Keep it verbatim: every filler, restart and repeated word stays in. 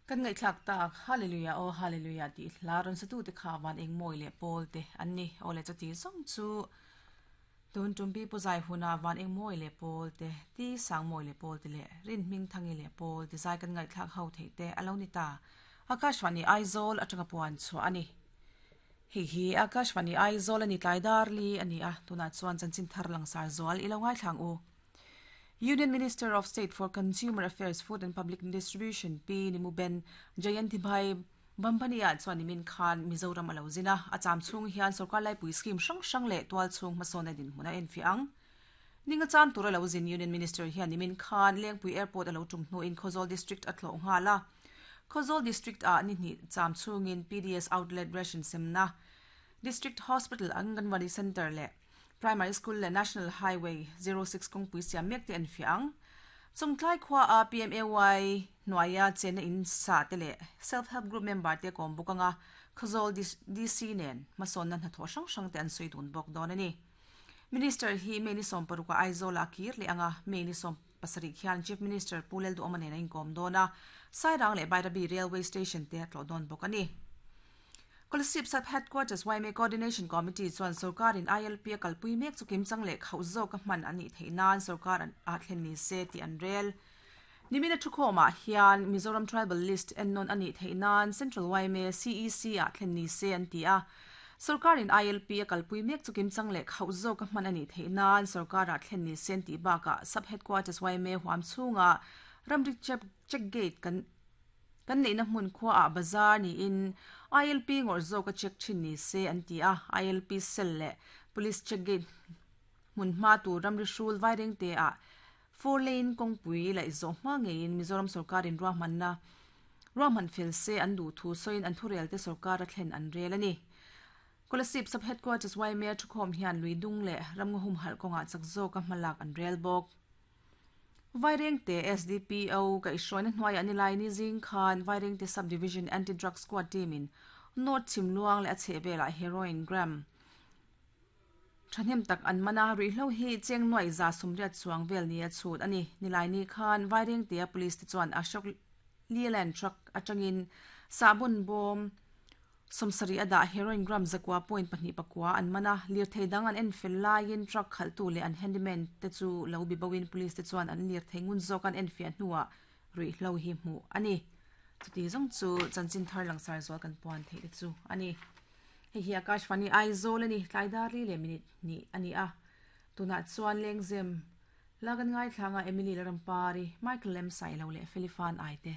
Kan ngaihthlak tak Hallelujah o Hallelujah ti hla ron satu te kha van eng moi le pawl te an ni ole chati zong chu tun tumpi puzai huna van eng moi le pawl te ti sang moi le pawl te le rin ming thangi le pawl te zai kan ngaihthlak ho thei te alo ni ta Akashvani Aizawl atanga puan chu ani hi hi Akashvani Aizawl ani tlaidar li ani a tuna chuan chanchin thar langsar zual ilo ngai thlang u Union Minister of State for Consumer Affairs, Food and Public Distribution P Nimuben Jayantibhai Bambania chuan nimin khan Mizoram alo zina acham chung hian sarkar lai pui scheme hrang hrang leh tual chung hmasawna din hmuna en fi ang ninga cham tur alo zin Union Minister hian nimin khan Lengpui Airport alo tum hnu in Khawzawl District a thlawh nghala Khawzawl District a ni hnih cham chungin P D S Outlet Ration semna, District Hospital, Anganwadi Center leh Primary School le National Highway zero six kawngpui siam mek te an fiang chungtlai khwa a P M A Y hnuaia chena in sa te leh self help group member te kom bukanga Khawzawl D C nen hmasawn na hnathawh hrang hrang te an sawi dun bawk dawn ani. Minister hi May ni sawm paruk a Aizawl a kir leh anga May ni sawm pasarih khian Chief Minister Pu Lalduhoma nen a inkawm dawn a, Sairang leh Bairabi Railway Station te a tlawh dawn bawk ani. Kolasib Sub Headquarters Y M A Coordination Committee chuan sarkarin I L P a kalpui mek chu kimchang leh khauh zawk a hman ani theih nan sarkar an a thlen ni se ti an rel. Nimina thukhawmah hian Mizoram Tribal List ennawn ani theih nan Central Y M A C E C a thlen ni se an ti a. Sarkarin I L P a kalpui mek chu kimchang leh khauh zawk a hman ani theih nan sarkar a thlen ni se an ti bakah Sub Headquarters Y M A huam chhunga ramri check check gate kan kan neihna hmun khua ah bazar ni in I L P ngawr zawk a check thin ni se an ti a. I L P cell leh police check gate hmun hma tur ramri hrul vaireng te ah four lane kawngpui laih zawh hma ngeiin Mizoram sarkarin ruahmanna ruahman fel se an duh thu sawiin an thurel te sarkar a thlen an rel ani. Kolasib Sub Headquarters Y M A thukhawm hian luidung leh ramngaw humhalh kawngah chak zawk a hmalak an rel bawk. Vairengte S D P O kaihhruaina hnuaiah nilai ni zing khan Vairengte Sub-Division Anti-Drug Squad team in North Chhimluang leh a chhehvelah heroin gram thahnem tak an mana ruihhlo hi cheng nuai za sumriat chuang vel ni a chhut ani. Nilai ni khan Vairengte a police te chuan Ashok Leyland truck atangin sahbon bawm sawmsarih a dah heroin gram zakua point pahnih pakua an mana. Lirthei dang an en fel laiin truck khalhtu leh an handyman te chu lo bi bawin police te chuan an lirthei ngun zawk an en fiah hnuah ruihhlo hi hmuh ani. Chuti zawng chu chanchin thar langsar zual kan puan theih te chu ani. Hei hi Akashvani Aizawl ani, tlaidar li leh minute ni ani a. Tunah chuan lengzem la kan ngai thlanga Emily Larampari, Michael Lem Sailo leh Felifan Aite.